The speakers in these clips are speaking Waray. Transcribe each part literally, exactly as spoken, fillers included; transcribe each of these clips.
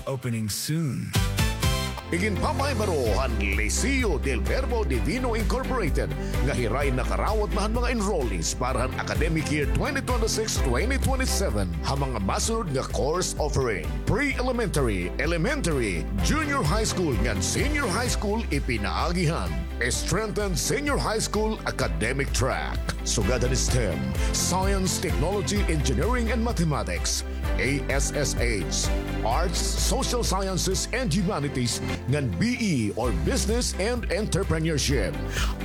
Opening soon. Iginpapahibaro han Liceo del Verbo Divino Incorporated nga hira in nakarawat na han mga enrollees para han academic year twenty twenty-six twenty twenty-seven ha mga masunod nga course offering: pre-elementary, elementary, junior high school ngan senior high school ipinaagi han strengthened senior high school academic track. Sugad han STEM, Science, Technology, Engineering, and Mathematics, A S S H, Arts, Social Sciences, and Humanities, ngan B E or Business and Entrepreneurship.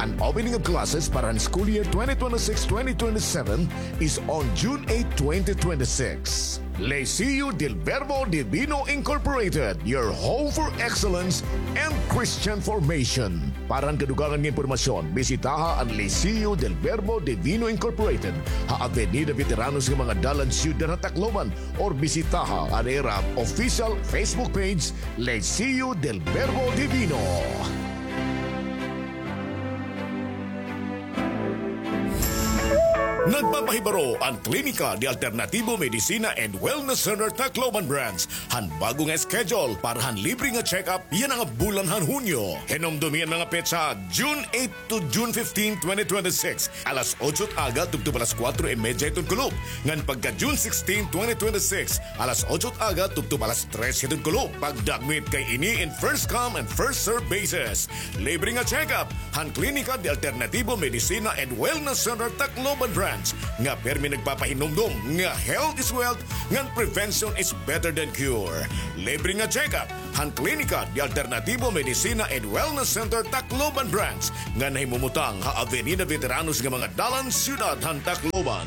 An opening of classes para han school year twenty twenty-six twenty twenty-seven is on June eight, twenty twenty-six. Liceo del Verbo Divino Incorporated, your home for excellence and Christian formation. Para han kadugangan nga impormasyon, bisitaha an Liceo del Verbo Divino Incorporated ha Avenida Veteranos nga mga dalan, Syudad han Tacloban, or bisitaha an ira official Facebook page, Liceo del Verbo Divino. Nagpapahibaro an Klinika de Alternativo Medicina and Wellness Center Tacloban Branch han bag-o nga schedule para han libre nga check-up yana nga bulan han Hunyo. Hinumdomi an mga petsa, June eight to June fifteen, twenty twenty-six, alas otso it aga tubtob alas kuwatro y medya hiton kulop, ngan pagka June sixteen, twenty twenty-six, alas otso it aga tubtob alas tres hiton kulop. Pagdagmit kay ini in first come and first serve basis. Libre nga check-up han Klinika de Alternativo Medicina and Wellness Center Tacloban Branch nga pirmi nagpapahinumdom nga health is wealth ngan prevention is better than cure. Libre nga check-up han Klinika de Alternativo Medicina and Wellness Center Tacloban Branch nga nahimumutang ha Avenida Veteranos nga mga dalan, Syudad han Tacloban.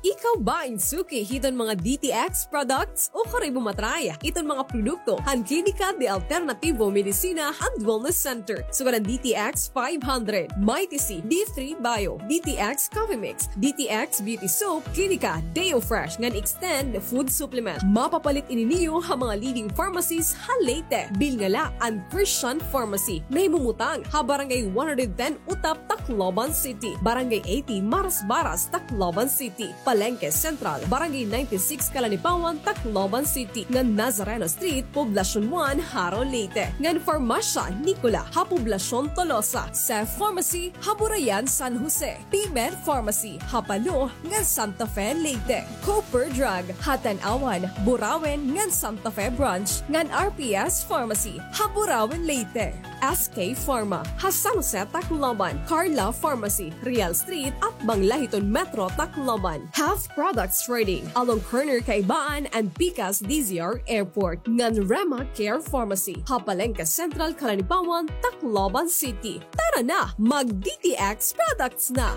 Ikaw ba in suki hiton mga D T X products? O kari mo ma-try iton mga produkto han Klinika de Alternativo Medicina and Wellness Center? Sugad an D T X five hundred, Mighty C, D three Bio, D T X Coffee Mix, D T X Beauty Soap, Klinika Deo Fresh ngan Extend Food Supplement. Mapapalit ini niyo ha mga leading pharmacies ha Leyte. Bilnga la an Christian Pharmacy, nahimumutang ha Barangay one hundred ten Utap, Tacloban City, Barangay eighty Marasbaras, Tacloban City, Palengke Central, Barangay ninety-six Calanipawan, Tacloban City, ngan Nazareno Street, Poblacion one, Jaro, Leyte, ngan Farmasya Nicola ha Poblacion Tolosa, Seth Pharmacy ha Burayan, San Jose, P-Med Pharmacy ha Palo ngan Santa Fe, Leyte, Cooper Drug ha Tanauan, Burauen ngan Santa Fe Branch, ngan R P S Pharmacy ha Burauen, Leyte. S K Pharma ha San Jose, Tacloban, Carla Pharmacy, Real Street, atbang la hiton Metro Tacloban, Health Products Trading along corner Caibaan and Pikas D Z R Airport, ngan Rema Care Pharmacy ha Palengke Central, Calanipawan, Tacloban City. Tara na, mag-D T X products na!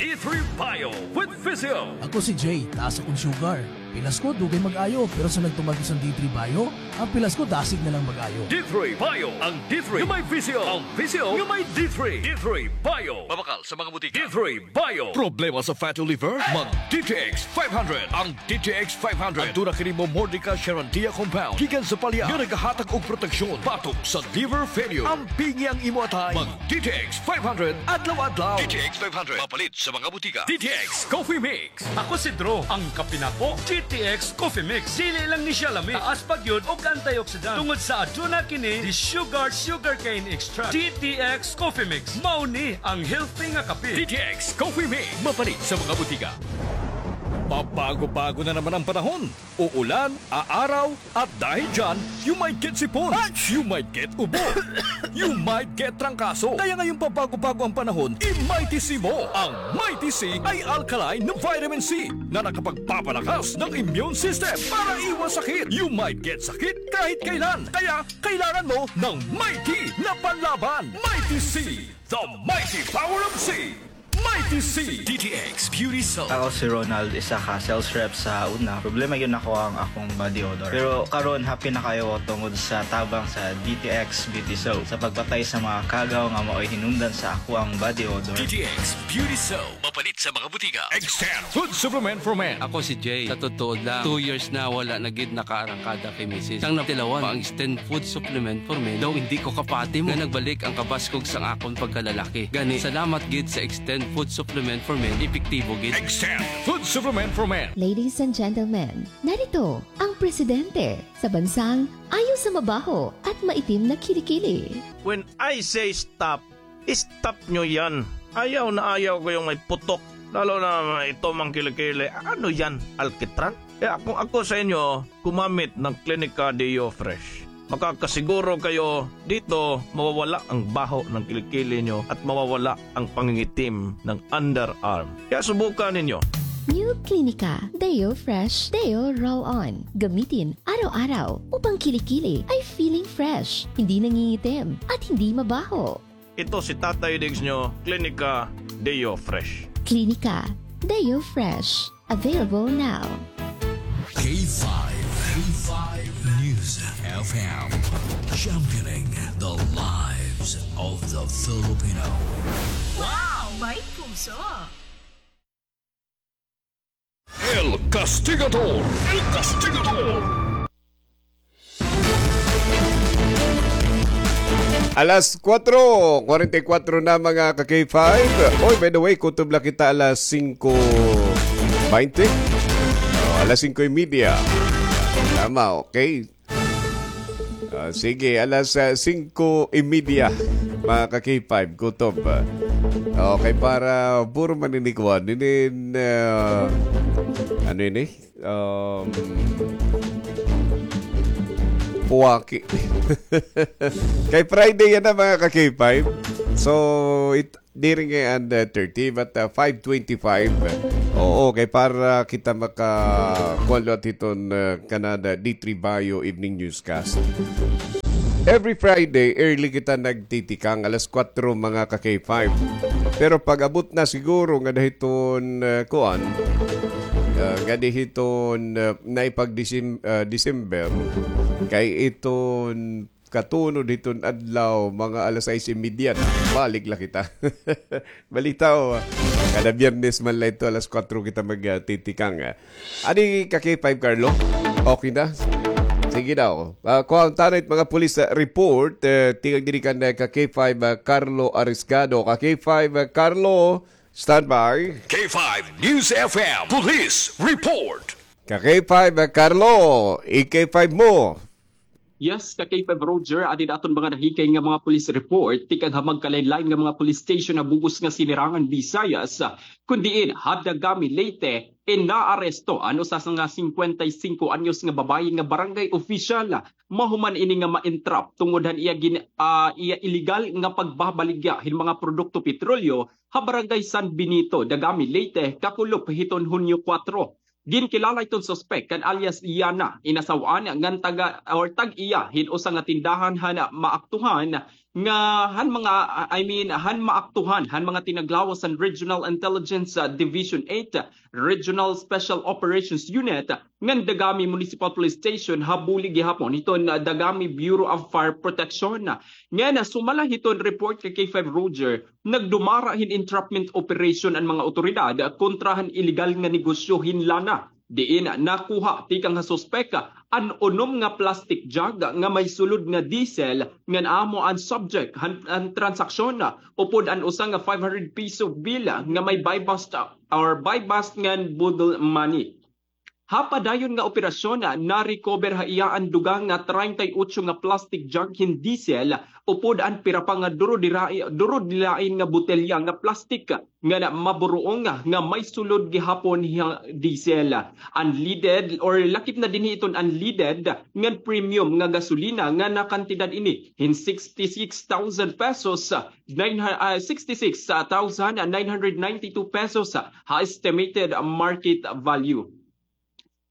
D three Bio with Physio. Ako si Jay, taas akon sugar. Pilas ko dugay mag-ayo, pero sa nagtumag ko sa D three Bio, an pilas ko dasig na lang mag-ayo. D three Bio, ang D three nga may Physio, ang Physio nga may D three. D three Bio. Mabakal sa mga butika. D three Bio. Problema sa fatty liver? Mag D T X five hundred. Ang D T X five hundred. Aduna kini Momordica charantia compound gikan sa palya nga nagahatag og proteksyon batok sa liver failure. Ampingi ang imo atay. Mag D T X five hundred adlaw-adlaw. D T X five hundred. Mapalit sa mga butika. D T X Coffee Mix. Ako si Drew, ang kape nako, D T X Coffee Mix. Dili lang ni siya lami, taas pa gyud og antioxidant tungod sa aduna kini di sugar, sugarcane extract. D T X Coffee Mix, mao ni ang healthy nga kape. D T X Coffee Mix, mapalit sa mga butika. Pabago-bago na naman ang panahon. Uulan, aaraw, at dahil dyan, you might get sipon. You might get ubo. You might get trangkaso. Kaya ngayong pabago-bago ang panahon, i-Mighty C mo. Ang Mighty C ay alkaline na vitamin C na nakapagpapalakas ng immune system para iwas sakit. You might get sakit kahit kailan. Kaya kailangan mo ng Mighty na panlaban. Mighty C, the mighty power of C. Mighty C. D T X Beauty Soap. Ako si Ronald, isa ka sales rep sa una. Problema gyud nako ang akong body odor. Pero karon, happy na kaayo ko tungod sa tabang sa D T X Beauty Soap sa pagpatay sa mga kagaw nga maoy hinungdan sa akoang body odor. D T X Beauty Soap. Palit sa mga butika. Extend Food Supplement for Men. Ako si Jay. Sa totoo lang, two years na wala na gid nakaarangkada kay misis. Sang natilawan pa ang Extend Food Supplement for Men, daw hindi ko kapati mo nga nagbalik ang kabaskog sang akon pagkalalaki. Gani, salamat gid sa Extend Food Supplement for Men, epektibo gid. Extend Food Supplement for Men. Ladies and gentlemen, narito ang presidente sa bansang ayaw sa mabaho at maitim na kilikili. When I say stop, stop nyo yan. Ayaw na ayaw ko yung may putok. Lalo na ito, mga kilikili. Ano yan? Alkitran? Kaya kung ako sa inyo, gumamit ng Clinica Deo Fresh. Makakasiguro kayo dito, mawawala ang baho ng kilikili nyo at mawawala ang pangingitim ng underarm. Kaya subukan ninyo. New Clinica Deo Fresh Deo Roll On. Gamitin araw-araw upang kilikili ay feeling fresh, hindi nangingitim, at hindi mabaho. Ito si Tatay Diggs nyo, Clinica Deo Fresh. Clinica Deo Fresh. Available now. K five, K five News F M, championing the lives of the Filipino. Wow! May puso! El Castigador! El Castigador! Alas kuwatro, kwarenta y kuwatro na, mga ka-K five. Oy, by the way, kutob la kita alas singko baynte. Oh, alas singko y media. Tama, okay. Ah, sige, alas, ah, singko y media, mga ka-K five, kutob. Okay, para puro man ini kuan, ini, ah, ano ini? Um, puwaki. Kay Friday yana, mga ka-K five. So, it, diri ngay-an, uh, thirty, but, uh, five twenty-five. Oo, kay para kita maka-, kuwan liwat hiton, uh, kanan D three Bayo Evening Newscast. Every Friday, early kita nagtitikang, alas kuwatro, mga ka-K five. Pero pag-abot na siguro ngada hiton, uh, kuan, uh, ngada hiton, uh, naipag-Decem-, uh, December, kay iton katunod hiton adlaw, mga alas sais y media na, balik la kita. Balitaw, kada Biyernes man la ito, alas kuwatro kita magtitikang. Adi ka-K five, Carlo? Okay na? Sige daw. Ah, kuha ta na it mga police, ah, report. Eh, tikang diri kan, eh, ka-K five, ah, Carlo Arisgado. Ka-K five, ah, Carlo, standby. K five News F M Police Report. Ka-K five, ah, Carlo, i-K five mo. Yes, ka-K five Roger, adi na aton mga nahikay nga mga police report, tikang ha magkalain-lain nga mga police station ha bug-os nga Sinirangan Visayas, kun diin ha Dagami, Leyte, in naaresto an usa nga singkwenta y singko anyos nga babaye nga barangay opisyal. Mahuman ini nga ma-entrap tungod han iya gin-, ah, iya iligal nga pagbabaligya hin mga produkto petrolyo ha barangay San Benito, Dagami, Leyte, kakulop hiton Hunyo kuwatro. Ginkilala iton suspek kan alias Yana, inasaw-an ngan taga, or tag-iya hin usa nga tindahan han maaktuhan nga, han mga, I mean, han maaktuhan han mga tinaglawas han Regional Intelligence, ah, Division eight, Regional Special Operations Unit, ngan Dagami Municipal Police Station ha bulig gihapon hiton, ah, Dagami Bureau of Fire Protection. Ngan, ah, sumala hiton report ka-K five Roger, nagdumara hin entrapment operation an mga awtoridad kontra han iligal nga negosyo hin lana, diin nakuha tikang ha suspek an unom nga plastic jug nga may sulod nga diesel ngan amo an subject han, han transaksyon, upod an usa nga five hundred peso bill nga may buy bust or buy bust ngan boodle money. Ha padayon nga operasyon, na-recover ha iya an dugang nga treinta y ocho nga plastic jug hin diesel, upod an pira pa nga durodirai-, durodilain nga botelya nga plastic nga na-, maburuong nga may sulod gihapon ha diesel. An leaded, or lakip na dinhi iton an leaded ngan premium nga gasolina nga nakantidad ini hin sixty-six thousand pesos, nine hu-, ah, sixty-six thousand nine hundred ninety-two pesos ha estimated market value.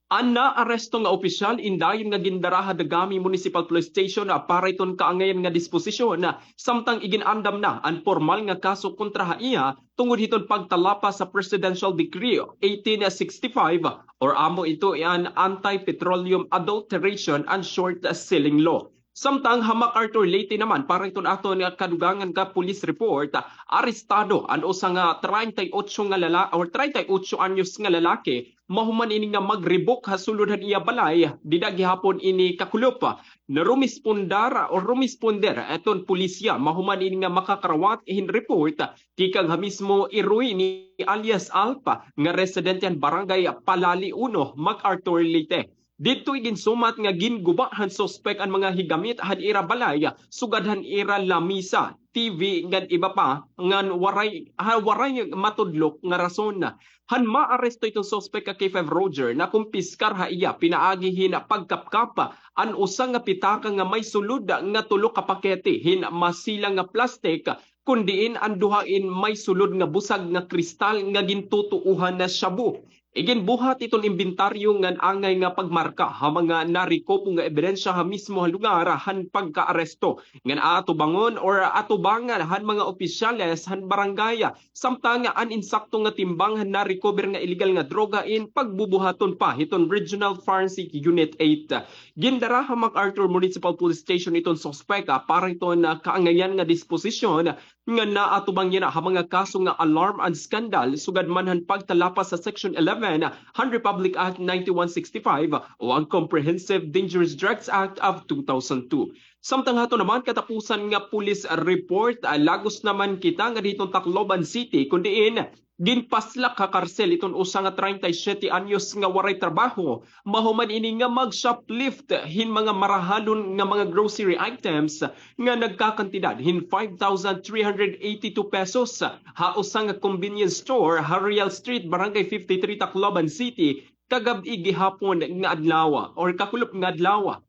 An naaresto nga opisyal in dayon nga gindara ha Dagami Municipal Police Station, ah, para iton kaangayan nga disposisyon, ah, samtang igin-andam na an pormal nga kaso kontra ha iya tungod hiton pagtalapas sa Presidential Decree eighteen sixty-five, or amo ito an Anti-Petroleum Adulteration and Short Selling Law. Samtang ha MacArthur Leyte naman, para iton aton nga kadugangan nga police report, arestado an usa nga treinta y ocho nga lala-, or treinta y ocho anyos nga lalaki, mahuman ini nga magribok ha sulod han iya balay, dida gihapon ini kakulop. Narumispondar o rumisponder iton pulisya, mahuman ini nga makakarawat hin report tikang ha mismo Iroy ni alias Alpa nga residente han barangay Palali uno, MacArthur, Leyte. Didto iginsumat nga ginguba han suspek an mga higamit han ira balay, sugad han ira lamisa, T V, ngan iba pa, ngan waray, ha, waray matudlok nga rason. Han maaresto iton suspek ka K five Roger, nakumpiskar ha iya pinaagi hin pagkapkap an usa nga pitaka nga may sulod nga tulo ka pakete hin masila nga plastik, kun diin an duha in may sulod nga busag nga kristal nga gintutuohan na shabu. Iginbuhat iton imbentaryo ngan angay nga pagmarka ha mga narikobo nga ebidensya ha mismo ha lugar han pagkaaresto, ngan aatubangon or atubangan han mga opisyales han barangay. Samtang an insakto nga timbang han na-recover nga illegal nga droga in pagbubuhaton pa hiton Regional Forensic Unit eight. Gindara ha MacArthur Municipal Police Station iton suspek, ah, para hiton, ah, kaangayan nga disposisyon nga naatubang yana ha mga kaso nga alarm and scandal, sugad man han pagtalapas sa Section eleven han Republic Act ninety-one sixty-five o ang Comprehensive Dangerous Drugs Act of two thousand two. Samtang hato naman katapusan nga police report, ah, lagos naman kita nga didto ha Tacloban City, kun diin ginpaslak ha karsel iton usa nga treinta y siete anyos nga waray trabaho, mahuman ini nga mag-shoplift hin mga marahalon nga mga grocery items nga nagkakantidad hin five thousand three hundred eighty-two pesos ha usa nga convenience store ha Real Street, Barangay fifty-three, Tacloban City, kagab-i gihapon nga adlaw or kakulop nga adlaw.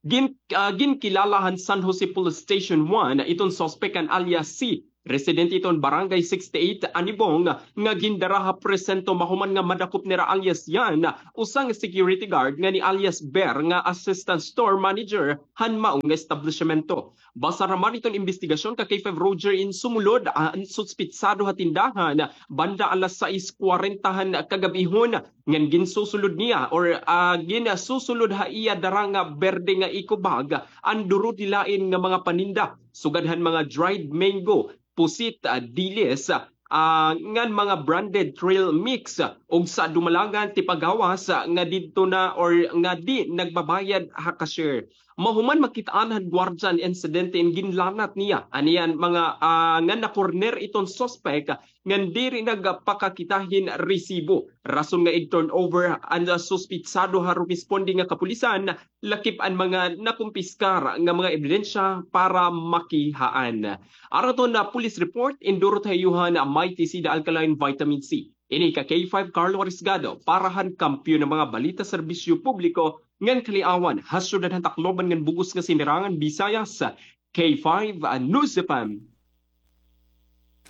Gin-, ah, ginkilala han San Jose Police Station one iton suspek nga alias C, residente iton Barangay sixty-eight, Anibong, nga gindara ha presinto mahuman nga madakop nira alias Yan, usa nga security guard, ngan ni alias Ber nga assistant store manager han mao nga establisyemento. Basar naman iton imbestigasyon ka K five Roger in sumulod, ah, an suspitsado ha tindahan banda alas sais kwarenta han kagab-ihon, ngan ginsusulod niya or, ah, ginsusulod ha iya dara nga berde nga eco bag an duro dilain nga mga paninda, sugad han mga dried mango, pusit, ah, dilis, ah, ngan mga branded trail mix, ah, ug sa dumalangan tipagawas, ah, nga didto na or nga di nagbabayad ha cashier. Mahuman makit-an han gwardiya an insidente in ginlanat niya an iya mga, ah, nga nakorner iton suspek ngan diri nagpakakita hin resibo. Rason nga ig-turn over an suspitsado ha rumisponde nga kapulisan lakip an mga nakumpiskar nga mga ebidensya para makihaan. Aton nga police report, indurot ha iyo han Mighty Seed Alkaline Vitamin C. Ini ka K five Carlo Arisgado para han kampiyon nga mga balita, serbisyo publiko ngan kaliawan ha syudad han Tacloban ngan bug-os nga Sinirangan Visayas, K five News F M.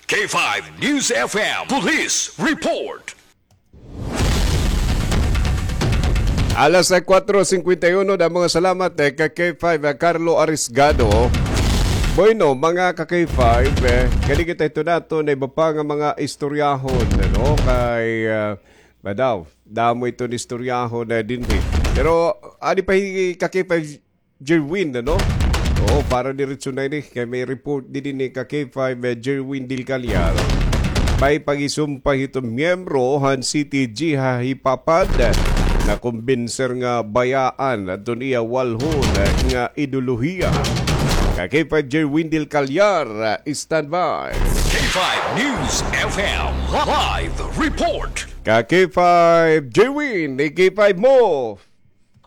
K five News F M Police Report. Alas kwatro singkwenta y uno, damo nga salamat, eh, ka K five, eh, Carlo Arisgado. Bueno, mga ka K five, eh, kani kita ito nato na iba pa nga mga istoryahon, ano, kay, ah, madaw, damo iton istoryahon na dinhi. Pero, adi pa hi ka K five Jerwin, ano? Oo, para diretso na ini, kay may report dinhi ni ka K five, eh, Jerwin Del Callar. May pagisumpay hiton miyembro han C T G ha Hipapad. Nakumbinser nga bayaan adton iya walhon nga ideolohiya. Ka K five Jerwin Del Callar, standby. K five News F M live report. Ka K five Jerwin, K five mo.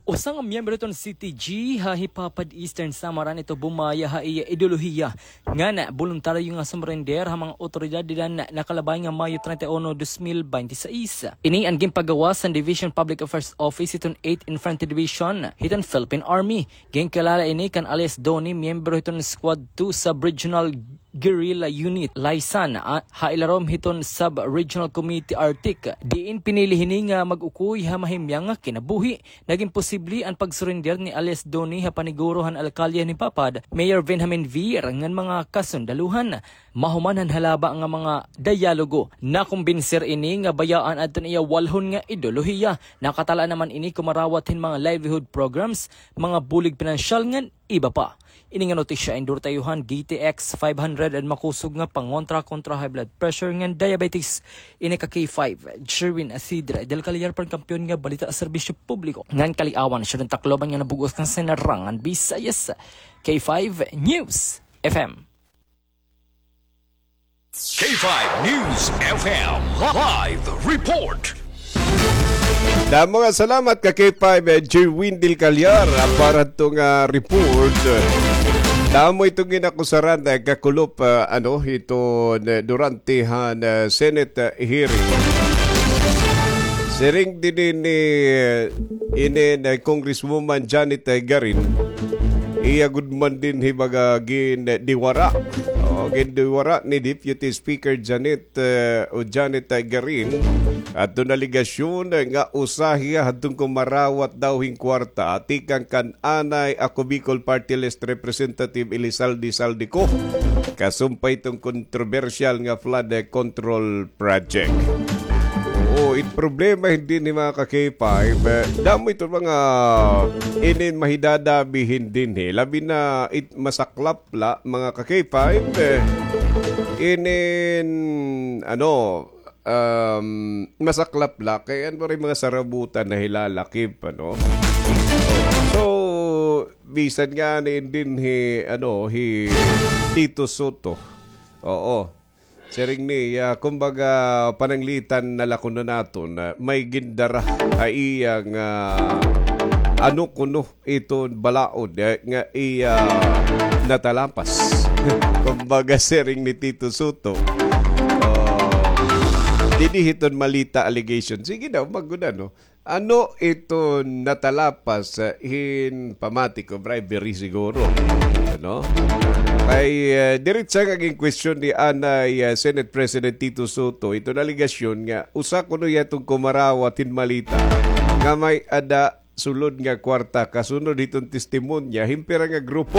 Usa nga miyembro hiton C T G ha Hipapad, Eastern Samar, an ito bumaya ha iya ideolohiya ngan boluntaryo nga sumrender ha mga awtoridad dida han nakalabay nga Mayo treinta y uno, dos mil binte y seis. Ini an ginpagawas han Division Public Affairs Office hiton Eighth Infantry Division hiton Philippine Army. Ginkilala ini kan alias Donnie, miyembro hiton Squad two Sub-Regional Guerrilla Unit, Laysan, a, ha ilarom hiton Sub-Regional Committee Arctic, diin pinili hini nga mag-ukoy ha mahimyang nga kinabuhi. Nagin posible an pagsurrender ni alias Donnie ha paniguro han alkalde han Hipapad, Mayor Benjamin Vir, ngan mga kasundaluhan. Mahuman han halaba nga mga dialogo, nakumbinser ini nga bayaan adton iya walhon nga ideolohiya. Nakatala naman ini kumarawat hin mga livelihood programs, mga bulig pinansyal ngan Iba pa. Ini nga notisya, endorse ta iyo han G T X five hundred, an makusog nga pangontra kontra high blood pressure ngan diabetes. Ini ka K five, Jerwin Isidre del Callar, pangkampiyon nga balita, serbisyo publiko ngan kaliawan, siya an Tacloban nga nabug-os ngan sinarangan Visayas. K five News F M. K five News F M live report. Damo nga salamat ka K five, eh, Jerwin del Callar, ah, para hito nga report. Damo ito nga inakusaran, eh, kakulop, ah, ano, ito, eh, durante han, eh, Senate, eh, hearing. Siring dinhi ni, eh, inin, eh, Congresswoman Janet, eh, Garin, iya gud man dinhi baga gindiwara. O, gindiwara ni Deputy Speaker Janet, eh, o Janet, eh, Garin, adton alegasyon, eh, nga usa hiya hadton kumarawat daw hin kwarta tikang kan anay Ako Bicol Party List Representative Elizalde Zaldy Co, kasumpay hiton kontrobersyal nga flood, eh, control project. Oo, it problema dinhi, mga ka K five, eh, damo ito mga inin mahidadabi dinhi, eh. Labi na it masaklap la, mga ka K five, eh, inin, ano, um, masaklap la, kay ano rin mga sarabutan na hilalakip, ano? So, bisan nga ni dinhi, ano, hi Tito Sotto. Oo. Siring niya, kumbaga, pananglitan na la kuno naton, ah, may gindara ha iya nga, ah, ano kuno iton balaod, eh, nga iya natalapas. Kumbaga, siring ni Tito Sotto. Oh, dinhi hiton malita allegation. Sige daw, maguna, no? Ano iton natalapas, ah, hin pamati ko, bribery siguro. Ano? Kay, ah, diretsa nga ginkwestiyon ni anay, ah, Senate President Tito Sotto, iton alegasyon nga usa kuno hiya iton kumarawat hin malita nga may-ada sulod nga kwarta kasunod hiton testimonya hin pira nga grupo.